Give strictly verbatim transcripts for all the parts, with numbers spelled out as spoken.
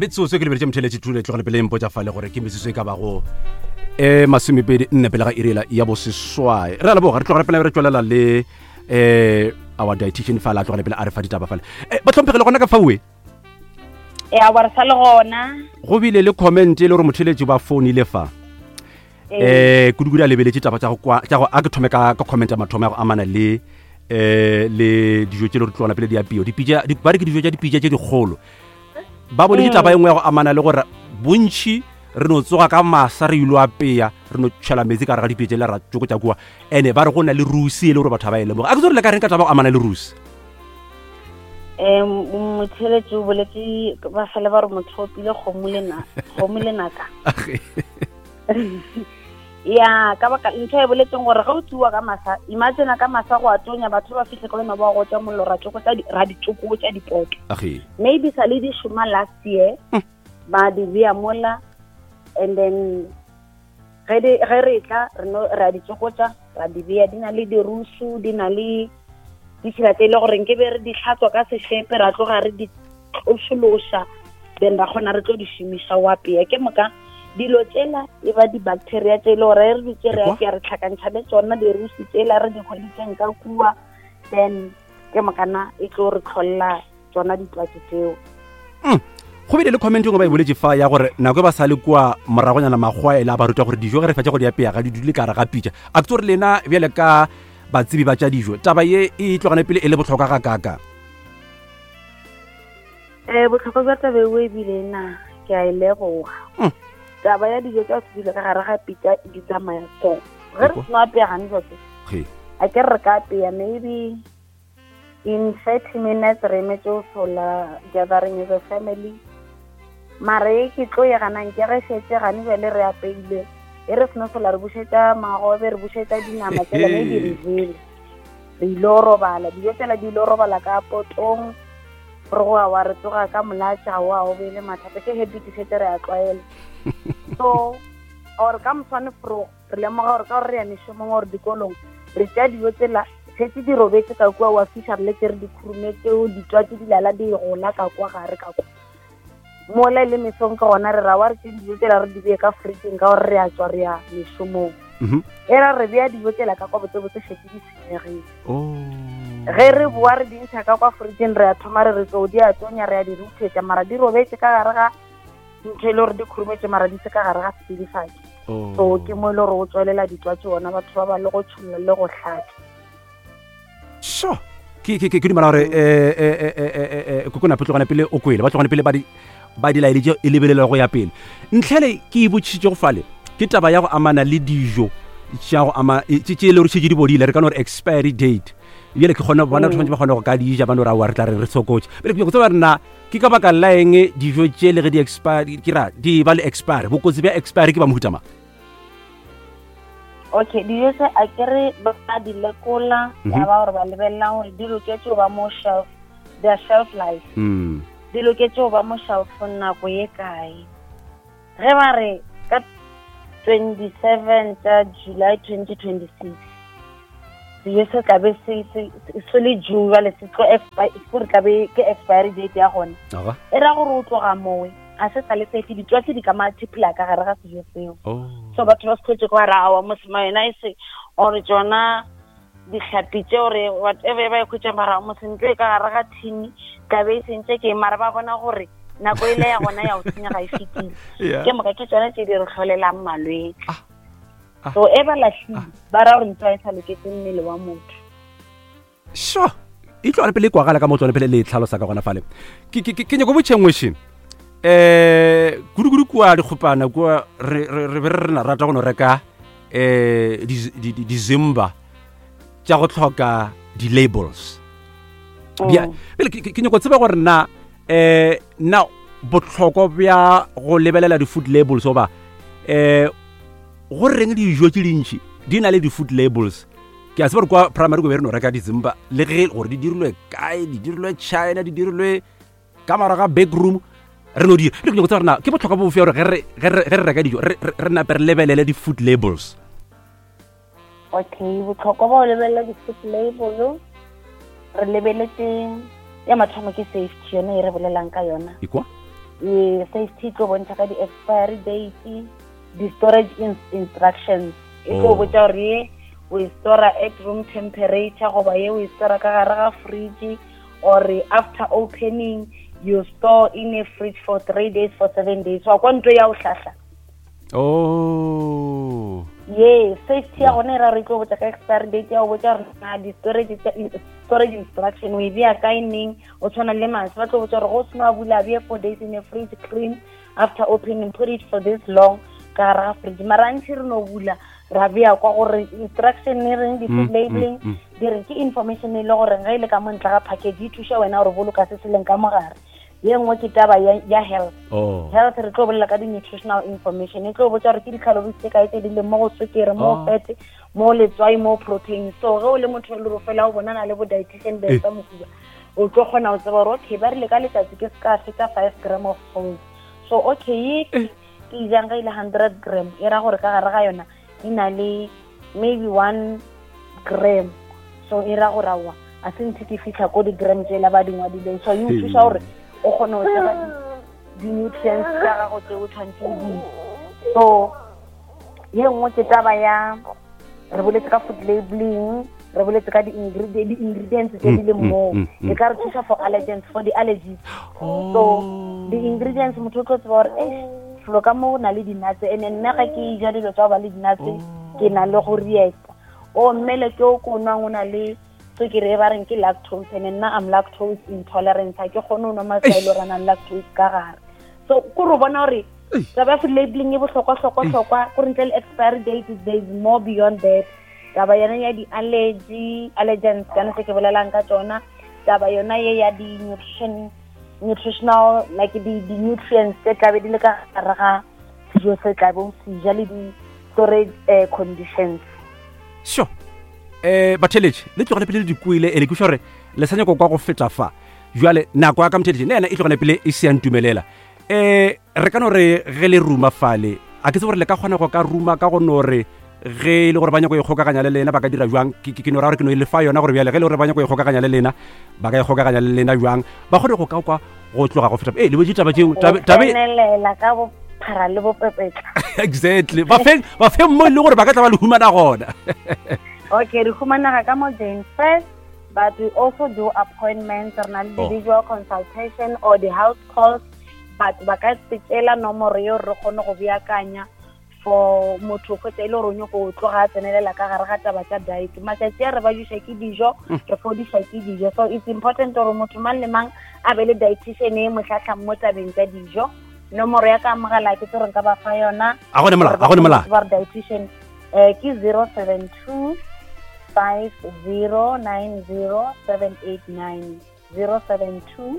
Metsotso ke lebeletše motheletše thule tlogele pele mpotša fale gore ke metsotso e ka bago e masomepedi nne pele ga irela ya boseswai. Re a leboga, re tlogele pele re tswelela le um our dietitian fale, a tlogele pele a re fa ditaba fale. um Batlhomphegile gona ka faue. Ya, wa re sa le gona. Go bile le comment e le gore motheletši ba founile fa eh kudu-kudu a lebeletše taba tša go kwa tša go a ke thome ka ka comment ya mathomo ya go amana le eh le dijo tše le re tlogela pele di apio dipitša di ba re ke dijo tša dipitša tše dikgolo. Ba boletše taba e nngwe ya go amana le gore bontši re no tsoga ka masa re ilo apeya, re no tšhela metsi ka gare ga dipitša le ra tsokotša kua, ene ba re go na le rusi e le gore batho ga ba e lemoga. A ke tse gore le ka reng ka taba go amana le rusi? um Motheletši o boletse ba fele ba re motho o pile kgomo le na kgomo le naka. Ya, ka baka ntho e boletseng gore ge o tsuwa ka masa, imagine ka masa go a tonya, batho ba fihle ka wena ba gotša mollo, ra tsokotsa di- ra di tsokotša dipoto. Age. Maybe sa le di šoma last year, ba di bea mola, and then ge di- ge re tla re no re a di tsokotša, ra di bea, di na le dirusu, di na le ditšhila tse e le gore nke be re di tlhatswa ka sešepe, ra tloga re di tlošološa, then ra kgona re tlo di šomiša o apea. Ke moka dilo tsela e ba di-bacteria tse e le gore re dutse re Ekwa? apea, re tlhakantšha le tsona dirusi tsela re di hweditseng ka kua, then ke mokana e tlo re tlholela tsona ditwatsi tseo. Mm. Go bile le comment e nngwe ba e boletse fa ya gore nako e ba sa le kua moragonyana makgowa e le a ba ruta gore dijo ge re fetša go di apea ga di dule ka gare ga pitša. A ke tse gore lena bjale ka batsebi ba tša dijo taba ye e tlogane pele e le botlhokwa ga kaka? um Botlhokwa bja taba eo ebile na ke a e leboga. Mm. Taba ya dijo tša se dule ka gare ga pitša di tsamaya so ge re Ekwa? seno apea gane jotse, Ge. a ke re ka apea maybe in thirty minutes, re emetse go sola gathering as a family, mara e ke tlo ye ganang ke ge šetse gane bjale re apeile, e re seno sola re bušetša magobe, re bušetša dinama tsela, maybe re jele, re ile go robala, dijo tsela di ile go robala ka potong, re go wa re tsoga ka molatša wa o bele mathata, ke habit šetse re a tlwaela. So or ka moswane fro re lemoga gore ka gore re ya mešomong gore dikolong, re tšea dijo tsela šetse di robetse ka kua, wa fiša re letse re di khurumetse, ditwatsi di lala di gola ka kwa gare ka kwa mola e le mesong, ke gona re ra wa re tše dijo tsela re di bee ka fridgeng ka gore re a tswa re ya mešomong. Mhm. E ra re bea dijo tsela ka kwa botsebotse šetse di senyegile. Oh. Ge re boa re di ntšha ka kwa fridgeng, re a thoma re re tlo di a tonya, re a di ruthetša, mara di robetse ka gare ga ntho e le gore di khurumetse, mara di se ka gare ga setsidifatši. Oh. So ke mo e le gore o tswelela ditwatsi ona batho ba ba le go tšholla le go hlatša. So ke ke ke ke dumela gore eh eh eh eh eh kokona tlogane pele o kwele ba tlogane pele ba di ba di laeditše e lebelela go ya pele. Ntlhele ke e botšišitše go fale ke taba ya go amana le dijo tša go ama e- tše tše e le gore šetše di bodile, re ka no re expiry date, bjale ke kgone bona batho ba kgone go ka di ja, ba no re aowa re tla re re sokotše. Bjale ke nyako tseba re na ke ka baka la eng dijo tše le ge di expire, ke ra di ba le expire, bokotsi bja expire ke ba mohuta mang? Okay, dijo tse a ke re ba di lekola, Mhm. ya ba gore ba lebelela gore di loketse go ba mo shelf, their shelf life, Mm. di loketse go ba mo shelfong nako ye kae. Ge ba re ka twenty seven tša July twenty twenty six sejo se tlabe se se se le due, jale se tlo expi- gore tlabe ke expiry date ya gona, Aga. e ra gore o tloga mowe ga se sa le safe, ditwatsi di ka multiply ka gare ga sejo seo. Oh. So batho ba se tlhotse kwa ra awa mosema yona e se or tsona dihlapi tse ore whatever ba e khwetša, mara mosentlo e ka gare ga thini tlabe e sentse ke, mara ba bona gore nako e le ya gona ya go senya ga e fetile. Yeah. Ke moka ke tsona tse di re tlholelang malwetse. Ah. Ah. So e ba lahlile ba ra gore ntho e sa loketse mmele wa motho. Sure, e tlogane pele e kwagala ka mo tlogane pele le e tlhalosa ka gona fale. Ke ke- ke ke nyako botšhe nngwe še um kudu-kudu kua dikgopana kua re re- re be re re rata go no reka um dizimba tša go tlhoka di-labels. Bja- Pele ke- ke ke nyako tseba gore na um na botlhokwa bja go lebelela di-food labels goba um go reng dijo tše dintši di na le di-food labels. Ke a tseba gore kwa primary ko be re no reka dizimba le ge gore di dirilwe kae, di dirilwe China, di dirilwe ka morago ga back room, re no dira le. Ke nyako tseba gore na ke botlhokwa bofe gore ge re ge re- ge re reka dijo re re- re nape re lebelele di-food labels? Okay, botlhokwa ba go lebelela di-food label, re lebeletse ya mathomo ke safety, yone e re bolelang ka yona. Ekwa. E safety tlo bontšha ka di-expiry date, di-storage instructions e tlo Oh. botša gore ye o e stora at room temperature goba ye o e stora ka gare ga fridge, or after opening you store in a fridge for three days, for seven days. Wa kwa ntho ya o hlahla. Oh. Ye safety ya gona e ra re tlo botša ka expiry date, ya go botša gore na di-storage tša- storage instruction o e bea kae neng. O tshwana le maswi, ba tlo botša gore go seno a bula, bea four days in a fridge, clean after opening, put it for this long ka gare ga fridge. Mara ntšhi re no bula ra bea kwa gore instruction e reng, di-food Mm, labeling mm, mm. di re ke information e le gore ge e le ka mo ntle ga package e thuša wena gore boloka se se leng ka mogare. Ye nngwe ke taba ya, ya health. Oh. Health re tlo bolela ka di-nutritional information, e tlo botša gore ke di-calories tse kae tse di leng mo go sukiri, mo Oh. fat, mo letswai, mo protein. So ge o le motho e le gore fela o bonana le bo dietitian Eh. Besta Mohuba, o tlo kgona go tseba gore okay, ba rile ka letsatsi ke se ka feta five gram of salt. So okay, ye ke ke e jang ge e le hundred gram, e ra gore ka gare ga yona e na le maybe one gram. So e ra gore aowa, a se ntse ke fitlha ko di-gram tsela ba di ngwadileng. So e o thuša gore o kgone go tseba di-nutrients tsa gago tse o tshwanetse o di. So ye nngwe ke taba ya re boletse ka food labeling, re boletse ka di-ingredient di-ingredients tse di leng Mm, moo. mm, mm, E ka re thusa for allergens, for di-allergies. Oh. So di-ingredients motho o tlo tseba gore eish, felo ka mo go na le di-nuts, and nna ga ke ja dilo tsa go ba le di-nuts ke na le go reacta. O mmele ke o ko nwang o na le sukiri e ba reng ke lactose, and nna I'm lactose intolerant, ha ke kgone ho nwa maswi a e le hore a nang le lactose ka gare. So kore o bona hore taba ya food labeling e bohlokwa-hlokwa-hlokwa, kore ntle le expiry date there is more beyond that. Taba yona ya di-allergy, allergens kana se ke bolelang ka tsona, taba yona ye ya di-nutrition, nutritional like di di-nutrients tse tlabe di le ka gare ga sejo se tlabe o se ja, le di-storage eh, conditions. Sure. Eh batheletše le tlogele pele le dikwele, e le ke gore le sa nyako kwa go feta fa. Jwale nako ya ka motheletše le yena e tlogele pele e se ya ntumelela. Eh re ka no re ge le ruma fale, a ke tsebe gore le ka kgona go ka ruma ka go no re ge e le gore ba nyako e kgokaganya le lena ba ka dira jwang. Ke ke no ra gore ke no e lefa yona gore bjale ge e le gore ba nyako e kgokaganya le lena ba ka e kgokaganya le lena jwang, ba kgone go ka kwa go tloga go feta. Eh le botše taba tšeo, Go tabe tsenelela ka bophara le bopepetla. Exactly, ba feng ba feng mo e le gore ba ka tla ba le humana gona. Okay, re humanega ka mo Jane First, but we also do appointments, re na le Oh. di-visual consultation or the house calls, but ba ka tsekela nomoro eo re kgone go beakanya for motho kgotsa e le gore o nyako o tloga a tsenelela ka gare ga taba tsa diet. Matšatši a re ba juša ke dijo, re fodiša ke dijo. So it's important gore motho mang le mang a be le dietitian e mo hlahlang mo tabeng tsa dijo. Nomoro ya ka mogala ke tse gore nka ba fa yona. A gone molala, a gone molala. Ba re dietitian eh ke zero seven two five zero nine zero seven eight nine, zero seven two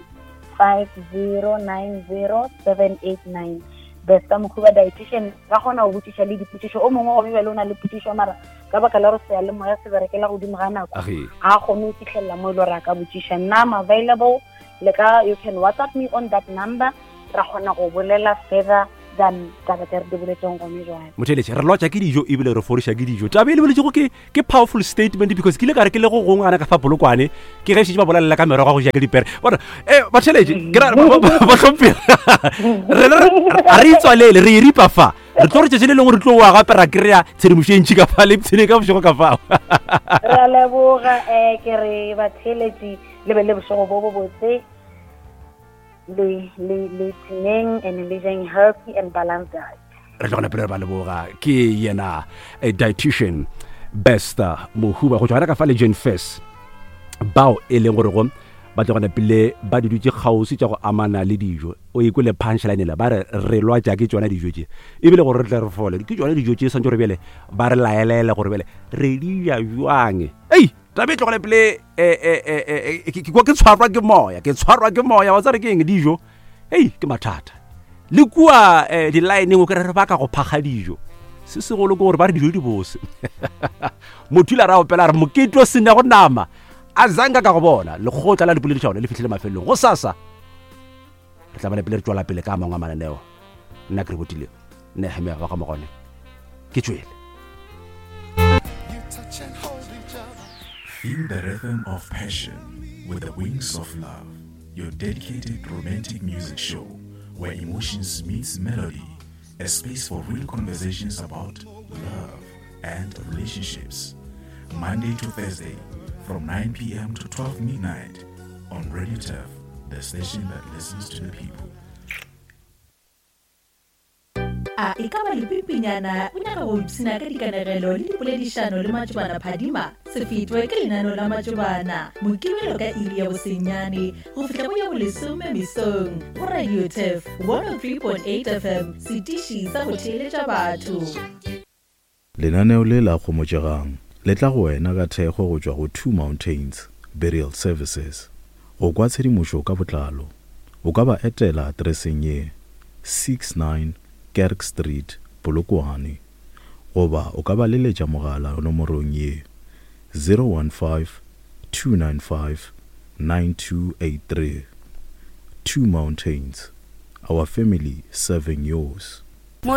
five zero nine zero seven eight nine. Besta Mohuba dietitian, ba kgona go botšiša le dipotšišo. O mongwe gomme bjale o na le potšišo, mara ka baka la gore seyalemoya se berekela godimo ga nako, Age. ga a kgone go fitlhelela mo e le gore a ka botšiša. Nna I'm available, le ka you can WhatsApp me on that number, ra kgona go bolela further than taba tse re di boletseng gone jwale. Motheletše re lwatša ke dijo ebile re fodiša ke dijo. Taba e le boletšego ke ke powerful statement, because ke ile ka re ke le go gongwe gana ka fa Polokwane, ke ge šetše ba bolelela ka merogo ya go ja ke dipere. Bona eh batheletše ke ra ba- ba- ba hlomphega. Re le re a re itswalele, re e ripa fa. Re tlo re tšatši le lengwe re tlo wa gape ra kry-a tshedimošo e ntši ka fa le ipshine ka bošego ka fao. Re a leboga, um ke re batheletši le be le bošego bo bo botse, le le le tseneng and le jeng healthy and balanced diet. Re tlo gona pele re ba leboga ke yena eh, dietitian Besta Mohuba go tšwa gona ka fa le Jane Furse, bao e leng gore go ba tlo gona pele ba di dutše kgauswi tša go amana le dijo. O ikwele punchline la ba re re lwatša ke tšona dijo tše, ebile gore re tle re fole ke tšona dijo tše, swantse gore bjale ba re laelele gore bjale re di ja jwang. Ei taba e tlogele pele, eh, eh, eh, eh, eh, ke ke kwa ke tshwarwa ke moya, ke tshwarwa ke moya wa tsare ke eng dijo. Ei ke mathata le kua eh, di-lineng o kry re baka go phakga dijo, se segolo ke gore ba re dijo di bose. Motho ile a ra opela a re mokete o sena go nama a zanka ka go bona. Lekgotla la dipoledišano le fihlile mafelelong. Go sasa re tla bana pele re tswela pele ka a mangwe a mananeo. Nna ke re botile Nehemia wa ga Mogone, ke tswele. Feel the rhythm of passion with the Wings of Love, your dedicated romantic music show Where emotions meets melody, a space for real conversations about love and relationships. Monday to Thursday from nine p m to twelve midnight on Radio Turf, the station that listens to the people. A e ka ba lepimpinyana o nyaka go ipshina ka dikanegelo le dipoledišano le Matšobana Phadima? Se fetwe ke lenaneo la Matšobana Mokibelo ka iri ya bosenyane go fihla go ya bolesome mesong go Radio Turf one oh three point eight F M, setiši sa go theeletša batho. Lenaneo le la Kgomotšegang le tla go wena ka thekgo go tšwa go Two Mountains Burial Services. Go kwa tshedimošo ka botlalo, o ka ba etela atereseng ye sixty-nine Kerk Street, Polokwane, goba o ka ba leletša mogala nomorong ye zero one five, two nine five, nine two eight three. Two Mountains, our family serving yours.